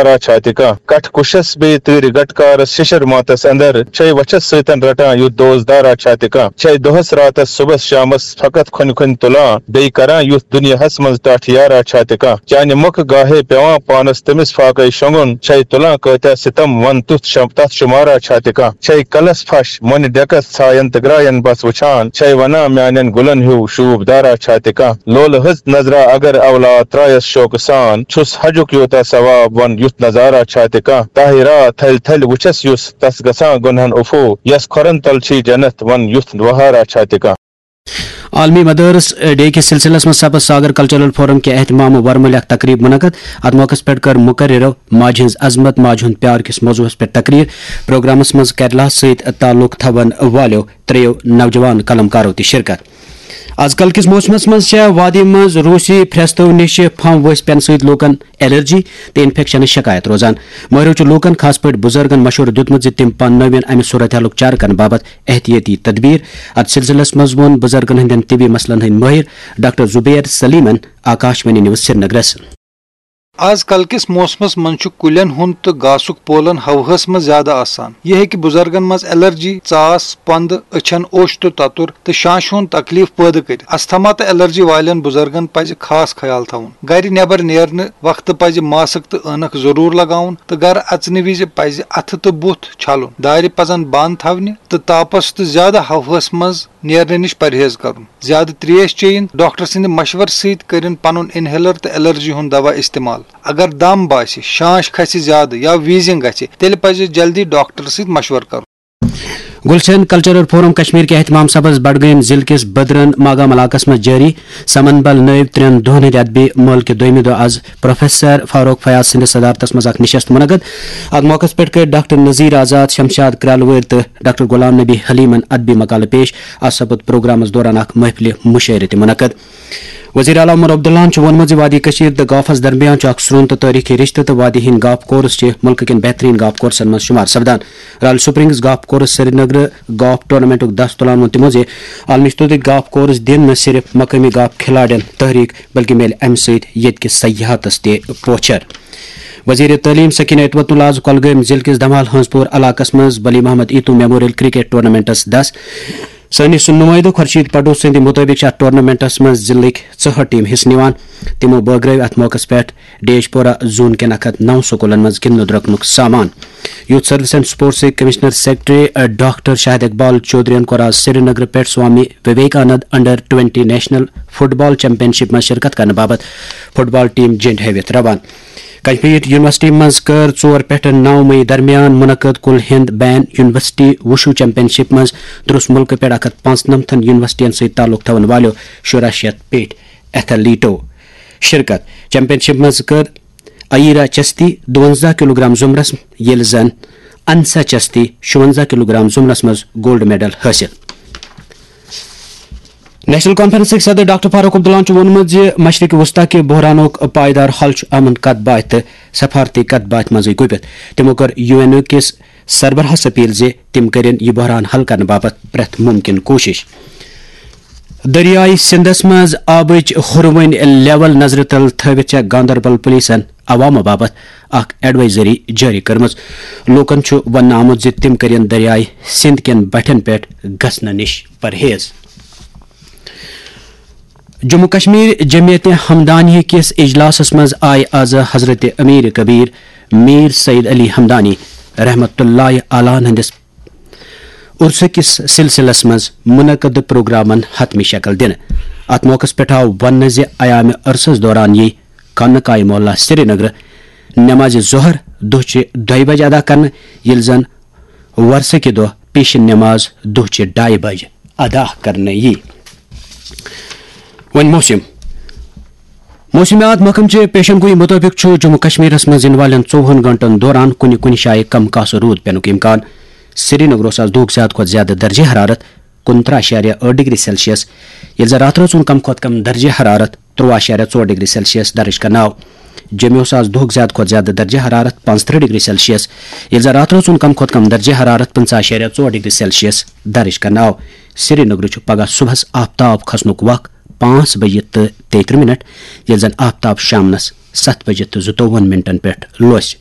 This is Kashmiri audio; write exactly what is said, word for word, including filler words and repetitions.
را چھا تہِ کانٛہہ۔ کٹھ کُشس بیٚیہِ تۭرِ گٹکارس شِشر ماتس اندر چھے وچھس سۭتٮ۪ن رٹان یُتھ دوس دارا چھا تہِ کانٛہہ۔ چھے دۄہس راتس صُبحس شامس فقط کھۄنہِ کھۄنہِ تُلان، بیٚیہِ کران یُتھ دُنیاہس منٛز ٹاٹھ یارا چھا تہِ کانٛہہ۔ چانہِ مۄکھٕ گاہے پٮ۪وان پانس تٔمِس فاقے شۄنٛگُن، چھے تُلان کٲتیٛاہ ستم ون تُتھ شم-، تتھ شُمارا چھا تہِ کانٛہہ۔ چھے کلس پھش مۄنہِ ڈٮ۪کس ژھاین تہٕ گراین بس وٕچھان، چھے ونان میانٮ۪ن گُلن ہیوٗ شوٗب دارا چھا تہِ کانٛہہ۔ لولہٕ ہٕژ نظرا اگر اولاد ترایس شوقہٕ سان، چھُس حجُک یوٗتاہ ثواب ون یُتھ نظارا چھا تہِ کانٛہہ۔ طاہرہ تھلۍ تھلۍ وٕچھس یُس تس گژھان گۄنہن عفو، یس کھۄرن تل چھی جنت ون یُتھ وہارا چھا تہِ کانٛہہ۔ عالمی مدارس ڈے کِس سلسلس منٛز سپز ساگر کلچرل فورم کہِ اہتمام ورمُلہِ اکھ تقریب منعقد۔ اتھ موقعس پٮ۪ٹھ کٔر مقررو ماجہِ ہٕنٛز عظمت، ماجہِ ہُنٛد پیار کِس موضوعس پٮ۪ٹھ تقریر۔ پروگرامس منٛز کیرلا سۭتۍ تعلق تھاون والیو ترٛیٚیو نوجوان قلمکارو تہِ شرکت۔ از کل کِس موسمس منٛز چھےٚ وادی منٛز روسی پھرٛستو نِش پھمب ؤسۍ پٮ۪نہٕ سۭتۍ لوٗکن الرجی تہٕ انفیکشنٕچ شکایت روزان۔ مٲہرو چھُ لوٗکن، خاص پٲٹھۍ بُزرگن، مشورٕ دیُتمُت زِ تِم پانہٕ نٔوٮ۪ن امہِ صورتحالُک چارٕ کرنہٕ باپتھ احتیٲطی تدبیر۔ اتھ سلسلس منٛز ووٚن بُزرگن ہٕنٛدٮ۪ن طبی مسلن ہٕنٛدۍ مٲہر ڈاکٹر زبیر سلیمن آکاش وانی نیوز سرینگرس۔ از کل کِس موسمس منٛز چھُ کُلٮ۪ن ہُنٛد تہٕ گاسُک پولن ہوہس منٛز زیادٕ آسان۔ یہِ ہیٚکہِ بُزرگن منٛز الرجی، ژاس، پندٕ، أچھن اوٚش تہٕ تتُر تہٕ شانشہِ ہُنٛد تکلیف پٲدٕ کٔرِتھ۔ استھما تہٕ الرجی والٮ۪ن بُزرگن پزِ خاص خیال تھاوُن۔ گرِ نٮ۪بر نیرنہٕ وقتہٕ پزِ ماسک تہٕ عٲنکھ ضروٗر لگاوُن تہٕ گرٕ اژنہٕ وِزِ پزِ اتھٕ تہٕ بُتھ چھلُن۔ دارِ پزن بند تھاونہِ تہٕ تاپس تہٕ زیادٕ ہوہس منٛز نیرنہٕ نِش پرہیز کرُن۔ زیادٕ تریش چیٚنۍ۔ ڈاکٹر سٕنٛدِ مشورٕ سۭتۍ کٔرِن پنُن انہیلر تہٕ الرجی ہُنٛد دوا استعمال۔ اگر دم باسہِ، شانش کھسہِ زیادٕ یا ویٖزنگ گژھِ، تیٚلہِ پزِ جلدی ڈاکٹر سۭتۍ مشورٕ کرُن۔ گُلشن کلچرل فورم کشمیر کہِ اہتمام سبز بڈگٲمۍ ضلعہٕ کِس بدرن ماگام علاقس منٛز جٲری سمن بل نٲوۍ ترٛٮ۪ن دۄہن ہٕنٛدِ ادبی مٲلہٕ کہِ دوٚیمہِ دۄہ از پروفیسر فاروق فیاض سٕنٛدِ صدارتس منٛز اکھ نشست منعقد۔ اتھ موقعس پٮ۪ٹھ کٔرۍ ڈاکٹر نذیر آزاد، شمشاد کرالہٕ وٲرۍ تہٕ ڈاکٹر غلام نبی حلیمن ادبی مقالہٕ پیش۔ اتھ سپُد پروگرامس دوران اکھ محفلہِ مُشٲعرٕ تہِ منعقد۔ وزیر اعلیٰ عمر عبداللہن چھُ ووٚنمُت زِ وادی کٔشیٖر تہٕ گافس درمیان چھُ اکھ سرٛون تہٕ تٲریٖخی رشتہٕ تہٕ وادی ہٕنٛدۍ گاف کورس چھِ مُلکہٕ کٮ۪ن بہتریٖن گاف کورسن منٛز شُمار سپدان۔ رال سپرنگز گاف کورس سرینگرٕ گاف ٹورنامنٹُک دس تُلان ووٚن تِمو زِ عالمی سطحٕکۍ گاف کورس دِن نہٕ صرف مقٲمی گاف کھلاڑٮ۪ن تحریٖک، بلکہِ میلہِ امہِ سۭتۍ ییٚتہِ کِس سیاحتس تہِ پوچھر۔ وزیر تعلیم سکینہ اتوت اللہ آز کۄلگٲمۍ ضلعہٕ کِس دمال ہنٛزپور علاقس منٛز بلی محمد ایتو میموریل کرکٹ ٹورنامنٹس دس۔ سٲنِس نُمٲیِدٕ خورشید پٹو سٕنٛدِ مُطٲبِق چھِ اَتھ ٹورنامنٹَس منٛز ضلعٕکۍ ژُہٲٹھ ٹیٖم حصہٕ نِوان۔ تِمو بٲگرٲوۍ اَتھ موقعَس پٮ۪ٹھ ڈیش پورہ زون کٮ۪ن اَکھ ہَتھ نَو سکوٗلَن منٛز گِنٛدنہٕ درٛۄکنُک سامان۔ یوٗتھ سروس اینڈ سپورٹسٕکۍ commissioner secretary, doctor Shahid Iqbal چودھرین کوٚر آز سرینگرٕ پٮ۪ٹھ Swami Vivekanand under twenty national football championship منٛز شرکت کرنہٕ باپتھ فٹ بال ٹیٖم جنٛڈ ہٲوِتھ روانہٕ۔ کشمیر یونیورسٹی منٛز کٔر ژور پٮ۪ٹھ نَو مئی درمیان منعقد کل ہند بین یونیورسٹی وُشو چیمپین شپ منٛز درٛس مُلکہٕ پٮ۪ٹھ اکھ ہَتھ پانٛژنَمتھن یونیورسٹیَن سۭتۍ تعلق تھاون والٮ۪و شُراہ شیٚتھ پیٹھۍ ایتھلیٹو شرکت۔ چیمپین شپ منٛز کٔر ایرا چستی دُوَنزاہ کلوگرام زمرس، ییٚلہِ زن انسا چستی شُوَنزاہ کلوگرام زمرس منٛز گولڈ میڈل حٲصِل۔ نیشنل کانفرنسٕکۍ صدر ڈاکٹر فاروق عبداللہَن چھُ ووٚنمُت زِ مشرق وسطی کہِ بحرانُک پائیدار حل چھُ امن کتھ باتھ تہٕ سفارتی کتھ باتھ منٛزٕے گُپِتھ۔ تِمو کٔر یو این او کِس سربراہس اپیل زِ تِم کٔرِن یہِ بحران حل کرنہٕ باپتھ پرٛٮ۪تھ مُمکِن کوٗشش۔ دٔریاے سِندس منٛز آبٕچ ہُروٕنۍ لیول نظرِ تل تھٲوِتھ چھےٚ گاندربل پُلیٖسن عوامہٕ باپتھ اکھ ایڈوائزری جٲری کٔرمٕژ۔ لوٗکن چھُ وننہٕ آمُت زِ تِم کٔرِن دٔریاے سِند کٮ۪ن بٹھٮ۪ن پٮ۪ٹھ گژھنہٕ نِش پرہیز۔ جموں کشمیر جمعیت ہمدانی کِس اجلاسس منٛز آیہِ از حضرت امیر کبیر میر سید علی ہمدانی رحمت اللہ علیہ ہٕنٛدِس عرسہٕ کِس سلسلس منٛز منعقد پروگرامن حتمی شکل دِنہٕ۔ اتھ موقعس پٮ۪ٹھ آو وننہٕ زِ ایام عرسس دوران یِیہِ خانقاہ معلیٰ سرینگر نماز ظہر دۄہچہِ دۄیہِ بجہِ ادا کرنہٕ، ییٚلہِ زن وۄرسہٕ کہِ دۄہ پیشن نماز دۄہچہِ ڈایہِ بجہِ ادا کرنہٕ یِیہِ۔ وۄنۍ موسم۔ موسمیات محکمہٕ چہِ پیشن گویی مُطٲبِق چھُ جموں کشمیرس منٛز یِنہٕ والٮ۪ن ژوٚوُہن گٲنٛٹن دوران کُنہِ کُنہِ جایہِ کم کاسہٕ روٗد پینُک امکان۔ سرینگرس آز دۄہُک زیادٕ کھۄتہٕ زیادٕ درجہ حرارت کُنترٕہ اعشاریہ ٲٹھ ڈگری سیلسیس، ییٚلہِ زن راتھ رٲژ ہُنٛد کم کھۄتہٕ کم درجہ حرارت ترٛوٚوُہ اعشاریہ ژور ڈگری سیلسیس درج کرنہٕ آو۔ جوٚمہِ اوس آز دۄہُک زیادٕ کھۄتہٕ زیادٕ درجہ حرارت پانٛژترٕہ ڈگری سیلسیس، ییٚلہِ زن راتھ رٲژ ہُنٛد کم کھۄتہٕ کم درجہ حرارت پٕنٛژٕہ اعشاریہ ژور ڈگری سیلسیس درج کرنہٕ آو۔ سرینگرٕ چھُ پگہہ صبحس آفتاب کھسنُک وق پانٛژھ بجہِ تہٕ تیٚیہِ ترٕٛہ منٹ، ییٚلہِ زن آفتاب شامنس ستھ بجہِ تہٕ زٕتووُہن منٹن پٮ۪ٹھ لوسہِ۔